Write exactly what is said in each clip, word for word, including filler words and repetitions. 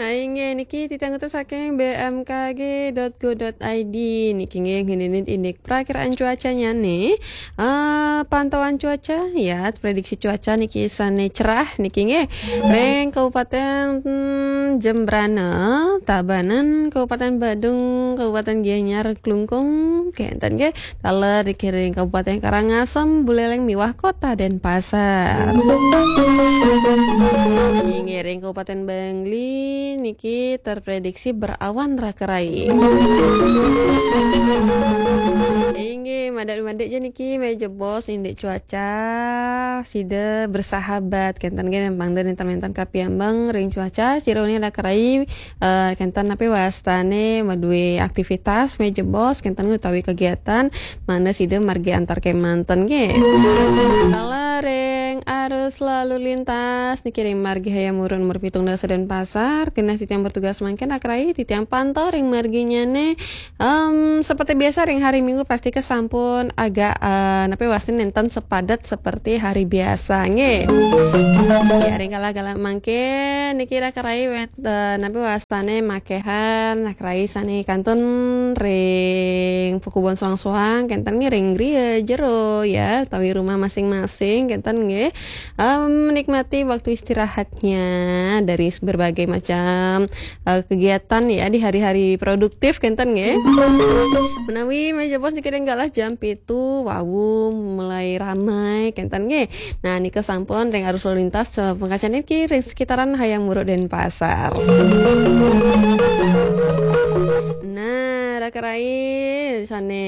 Nah, inggih niki titiang utus saking B M K G dot go dot I D niki nggih ngeninin indik perakiraan cuacanya nih. Eh, pantauan cuaca ya, prediksi cuaca niki sane cerah niki nggih. Ring Kabupaten, hmm, Jembrana, Tabanan, Kabupaten Badung, Kabupaten Gianyar, Klungkung, kenten nggih. Taler niki ring Kabupaten Karangasem, Buleleng miwah Kota Denpasar. Inggih ring Kabupaten Bangli niki terprediksi berawan rakerai. Inggih, madak-madak ja niki meja bos indik cuaca sida bersahabat kenten nggih nempang dan enten-enten kapiambang ring cuaca sira uni rakerai eh, kenten napi wastane madue aktivitas meja bos kenten utawi kegiatan mangda sida margi antar kemanten nggih. Kala ring arus lalu lintas niki ring margi Hayam Muruk nomor pitung dasa Denpasar, genah titiang bertugas mangkin akrai titiang pantau ring marginyane. Em, seperti biasa ring hari Minggu pasti ke sampun agak eh, napi wastane nenten sepadat seperti hari biasa nggih. Ya ring kala-kala mangkin niki rakerai wet eh, napi wastane makehan rakerai sane kantun ring pekubon suang-suang kenten nggih ring griya jero ya utawi rumah masing-masing kenten nggih. Em, menikmati waktu istirahatnya dari berbagai macam eh, kegiatan ya di hari-hari produktif kenten nggih. Menawi meja bos niki ring galah jam pitu wau mulai ramai kenten nggih. Nah, nika sampun ring arus lalu lintas eh, pungkasan niki ring sekitaran Hayam Muruk Denpasar. Nah, rakerai sane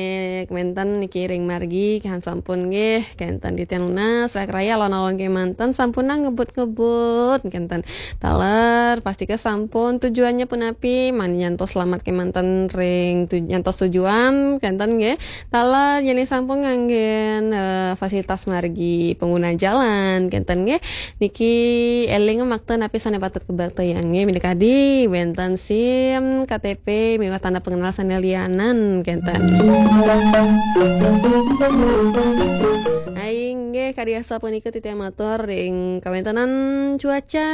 kemanten niki ring margi kan sampun nggih kenten titiang nunas rakerai alon-alon kemanten sampun ngebut-ngebut kenten. Taler pasti ke sampun tujuannya punapi mangda nyantos selamat kemanten ring tu, nyantos tujuan kenten nggih. Taler yen sampun nganggen eh, fasilitas margi pengguna jalan kenten nggih. Niki eling makta napi sane patut kabaktayang nggih minakadi wenten SIM, K T P miwah tanda pengenal sane lianan kenten. Inggih kadi asapunika titiang matur ring kawentenan cuaca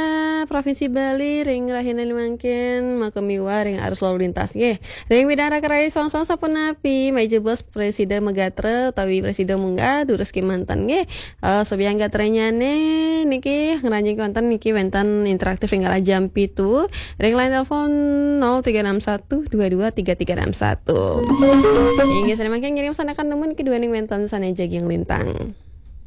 Provinsi Bali ring rahina mangkin maka miwah ring arus lalu lintas nggih. Ring widang rakerai songsong sapunapi meja bos presida megatra utawi presida munggah durus kemanten nggih. Eh, sabiang gatranyane niki ngranjing wenten niki wenten interaktif ring kala jam pitu ring line telepon nol tiga enam satu dua dua tiga tiga enam satu. Inggih sane mangkin ngirim sanakan nemu niki duaning wenten sane jagi nglintang.